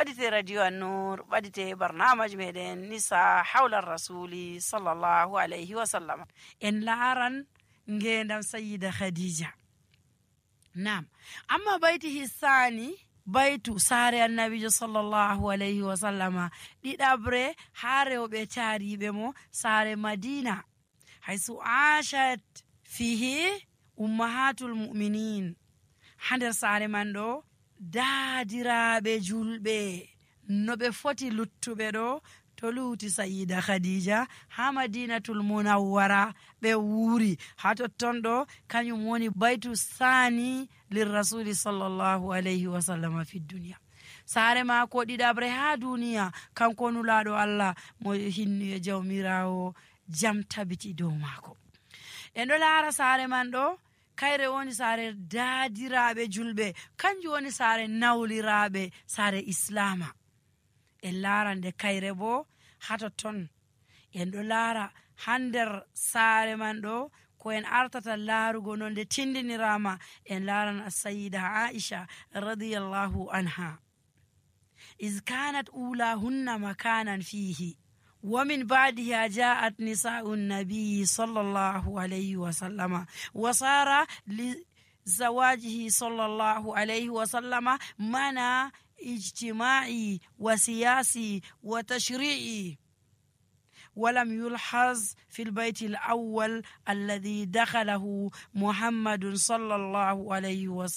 ɓadite radio An-Nur, ɓadite barnamaji meɗen nisa hawla rasuli sallallahu alayhi wa sallam. En laaran ngendam sayyida Khadija. Naam, amma bayti hissani baytu saare annabijo sallallahu alayhi wa sallama ɗiɗabre ha rewɓe taariɓe mo saare Madina, haysu ashat fihi ummahatul mu'minin. Ha nder saare man ɗo daadiraɓe julɓe no ɓe foti luttuɓe ɗo to luuti sayyida Khadija ha Madinatul Munawwara ɓe wuuri. Ha totton ɗo kañum woni baytu sani lirrasuli sallallahu alayhi wa sallam fi duniya. saare maako ɗiɗabre ha duniya, kanko nulaɗo Allah mo hinni e jawmirawo jam tabiti dow maako. En ɗo laara saare man ɗo kayre woni saare daadiraɓe julɓe, kanjum woni saare nawliraɓe, saare islama. En laara nde kayre bo ha totton en ɗo laara ha nder saare man ɗo ko en artata laarugo no nde tindinirama. En laaran as-sayyida Aisha radiyallahu anha iz kanat ulahunna makanan fihi wa min ba'diha ja'at nisa'un nabiy sallallahu alayhi wa sallama wa sara li zawajihi sallallahu alayhi wa sallama mana ijtima'i wa siyasi wa tashri'i. ولم يلحظ في البيت الأول الذي دخله محمد صلى الله عليه وسلم